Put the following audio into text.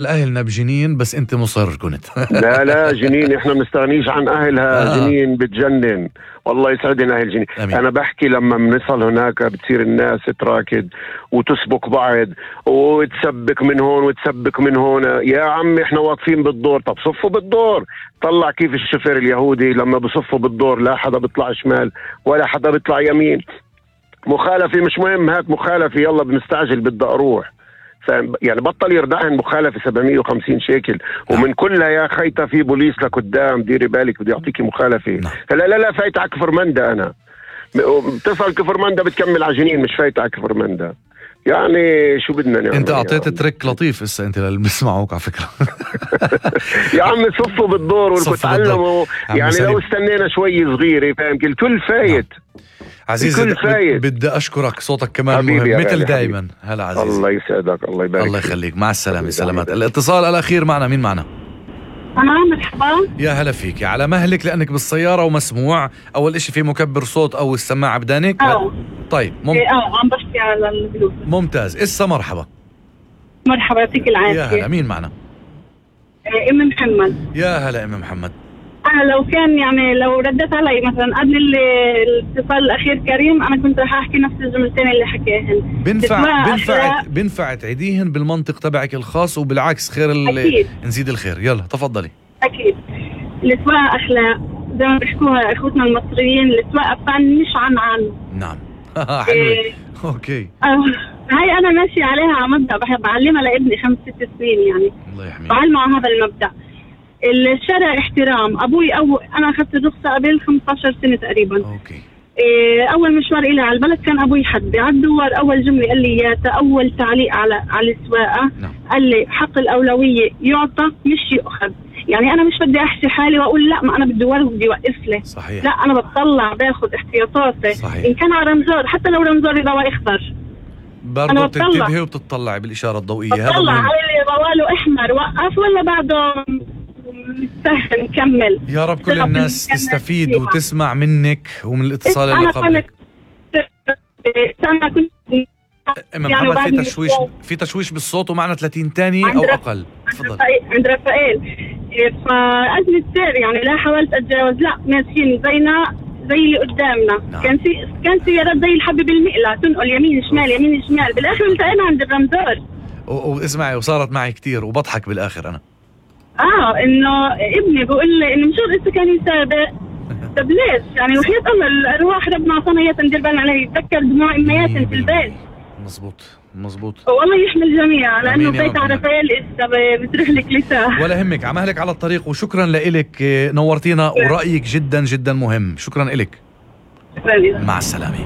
الأهلنا بجنين بس أنت مصر كنت. لا جنين، احنا بنستغنيش عن أهلها. جنين بتجنن والله، يسعدنا أهل جنين. أنا بحكي لما بنصل هناك بتصير الناس تراكد وتسبك بعض وتسبك من هون وتسبك من هون. يا عمي احنا واقفين بالدور، طب صفوا بالدور. طلع كيف الشفر اليهودي لما بصفوا بالدور لا حدا بيطلع شمال ولا حدا بيطلع يمين. مخالفة مش مهم، هات مخالفة يلا بنستعجل بدي أروح. يعني بطل يردعن مخالفة 750 شيكل ومن كلها يا خيطة في بوليس لقدام، ديري بالك بدي أعطيكي مخالفة. لا فايت على كفر مندا. أنا بتصل كفر مندا بتكمل عجنين، مش فايت على كفر مندا. يعني شو بدنا نعمل؟ انت اعطيت تريك لطيف هسه انت اللي بيسمعوك على فكره. يا عم صفوا بالدور وتعلموا. يعني لو استنينا شوي صغيره فاهم الكل فايت. عزيزي بدي اشكرك، صوتك كمان مهم مثل دائما. هلا عزيزي، الله يسعدك، الله يبارك، الله يخليك. مع السلامه، سلامات. الاتصال الاخير معنا، مين معنا؟ مرحبا. يا هلا فيك، على مهلك لانك بالسياره ومسموع. اول اشي في مكبر صوت او السماعه بدانك؟ طيب عم بحكي على البلوتوث. ممتاز. اسا مرحبا. مرحبا، يعطيك العافيه. يا هلا، مين معنا؟ ام محمد. يا هلا ام محمد. أنا لو كان يعني لو ردت علي مثلا قبل الاتصال الأخير كريم، أنا كنت رح أحكي نفس الجملتين اللي حكيهن. بنفع تعيديهن بالمنطق تبعك الخاص، وبالعكس خير نزيد الخير. يلا تفضلي. أكيد. السواقة أخلاق زي ما بيحكوها إخوتنا المصريين، السواقة فن مش عن. نعم. حلوة. أوكي. هاي أنا ماشي عليها على مبدأ بحب أعلمها لابني 5-6 سنين يعني. الله يحميه. بعلمه على هذا المبدأ. الشارع احترام. أبوي أنا أخذت الرخصة قبل 15 سنة تقريبا. أوكي. أول مشوار إلي على البلد كان أبوي حد على الدوار. أول جملة قال لي أول تعليق على السواقة. قال لي حق الأولوية يعطى مش يؤخذ. يعني أنا مش بدي أحشي حالي وأقول لا ما أنا بالدوار بدي يوقف لي. صحيح. لا أنا بطلع باخذ احتياطاتي. صحيح. إن كان على رمزور، حتى لو رمزوري ضوء أخضر برضه بتنتبهي وبتطلعي بالإشارة الضوئية. بطلع على اللي ضواله أحمر وقف ولا بعده سهل نكمل. يا رب كل الناس تستفيد وتسمع منك ومن الاتصال اللي قبلك. أنا كنت محمد في تشويش بالصوت ومعنا 30 تاني أو أقل. تفضل. عند رفائيل. فأزمة سير يعني لا حاولت أتجاوز، لا ماشيين زينا زي اللي قدامنا. نعم. كان سيارات زي الحبة بالمقلة تنقل يمين شمال يمين شمال، بالآخر التقينا عند الرمزور. واسمعي، وصارت معي كتير وبضحك بالآخر أنا. إنه ابني بقول لي إنه مشان إنت كان يسابق. طب ليش؟ يعني وحياة الله الأرواح ربنا عطانا إياها ندير بالنا عليه. يتذكر دموع أمياتنا في البيت. مظبوط. والله يحمي الجميع، لأنه بيت عرفائيل بتروح لك لسه. ولا همك، عمهلك على الطريق. وشكرا لإلك، نورتينا ورأيك جدا جدا مهم. شكرا إلك. شكرا. مع السلامة.